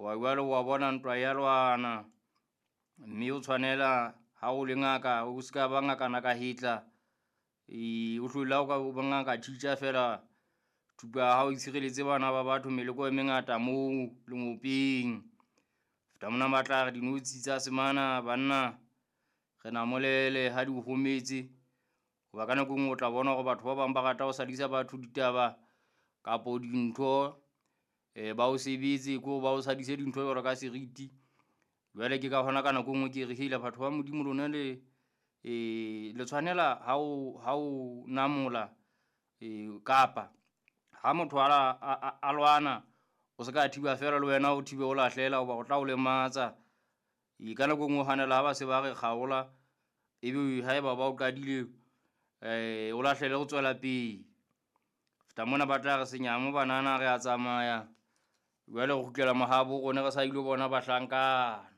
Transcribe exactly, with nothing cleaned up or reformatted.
Hoba jwale wa bona ntwa ya lwana, mme o tshwanela ha o le ngaka o ska ba ngakana ka hetla. E, o hlola o ka ba ngaka teacher fela, thupa ya hao e tshireletse bana ba batho meleko e mengata moo lengopeng. Feta mona ba tla re dinotshi tsa semana banna re namolele ha di o hometse. Hoba ka nako e nngwe o tla bona hore batho ba bang ba rata ho sadisa batho ditaba kapo dintho, e ba o sebetse ko ba o sadise dintho jwalo ka seriti. Jwale ke ka hona ka nako e nngwe ke re hela batho ba Modimo lona le e le tshwanela ha o ha o namola e kapa ha motho a, a, a lwana, o se ka thiba fela le wena o thibe o lahlela hoba o tla o lematsa. E ka nako e nngwe o hanela ha ba se ba re kgaola, ebe haeba ba o qadile o lahlele ho tswela pele. Feta mona ba tla re senyama banana re a tsamaya, jwale re kgutlela mahabo rona re sa ilo bona bahlankana.